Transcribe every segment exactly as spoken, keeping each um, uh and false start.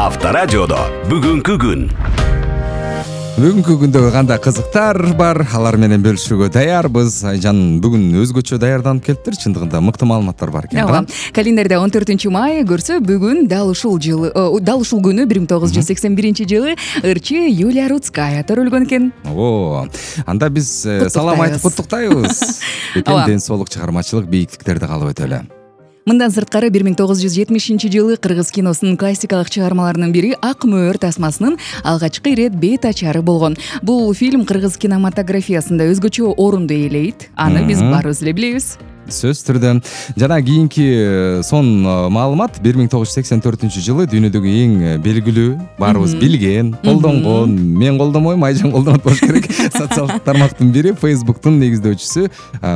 Авторадиодо бүгүнкү күн. Бүгүнкү күндө кандай кызыктар бар, алар менен бөлүшүүгө даярбыз. Айжан бүгүн өзгөчө даярданып келиптир. Чындыгында мыкты маалыматтар бар экен. Ооба. Календарда он төртүнчү май көрсө, бүгүн дал ушул жылы, дал ушул күнү бир миң тогуз жүз сексен биринчи жылы ырчы Юлия Рудская төрөлгөн экен. О, анда биз салам айтып куттуктайбыз. Экен ден соолук, чыгармачылык бийиктиктерди каалап өтөлү. Мындан сырткары бир миң тогуз жүз жетимишинчи жылы кыргыз киносунун классикалык чыгармаларынын бири Ак мөөр тасмасынын алгачкы ирет бет ачары болгон. Бул фильм кыргыз кинематографиясында өзгөчө орунду ээлейт. Аны биз баарыбыз эле билебиз. Сөз түрдө. Жана кийинки сон маалымат бир миң тогуз жүз сексен төртүнчү жылы дүйнөдөгү эң белгилүү, баарыбыз билген, колдонгон, мен колдонбойм, Айжан колдонот болуш керек. Социалдык тармактын бири Facebook'тун негиздөөчүсү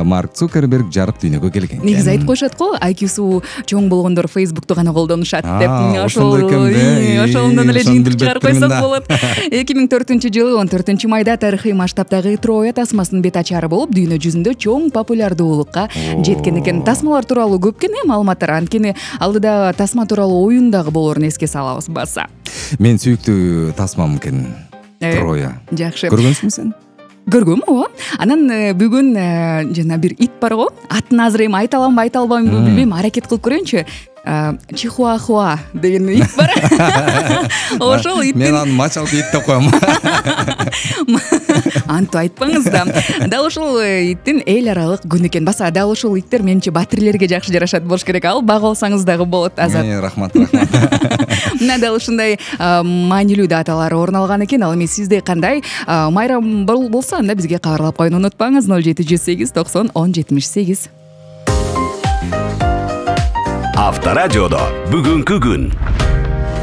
Марк Цукерберг жарык дүйнөгө келген. Негизи айтып коюшат го, ай кью-су чоң болгондор Facebook'ту гана колдонушат деп. Ошол ошондон эле жыйынтык чыгарып койсок болот. эки миң төртүнчү жылы он төртүнчү майда тарыхый масштабтагы Троя тасмасынын бет ачары болуп, дүйнө жүзүндө чоң популярдуулукка жеткен экен. Тасмалар тууралуу көп экен маалыматтар, анткени алдыда тасма тууралуу оюн дагы болоорун эске салабыз баса. Мен сүйүктүү тасмам экен Троя. Жакшы. Көргөнсүңбү сен? Көргөм, ооба. Анан бүгүн жана бир ит бар го. Атын азыр эми айта аламбы, айта албаймбы билбейм, аракет кылып көрөйүнчү. Чихуахуа деген ит бар. Ошол ит. Мен аны мачалкы ит деп коем. Антип айтпаңыз да. Дал ушул иттин эл аралык күнү экен. Баса дал ушул иттер менимче батирлерге жакшы жарашат болуш керек. Ал багып алсаңыз дагы болот. Азат. Рахмат, рахмат. Мына дал ушундай маанилүү даталар орун алган экен. Ал эми сизде кандай майрам болсо, анда бизге кабарлап коюуну унутпаңыз. ноль жети жүз сегиз токсон он жетимиш сегиз. Авторадиодо бүгүнкү күн.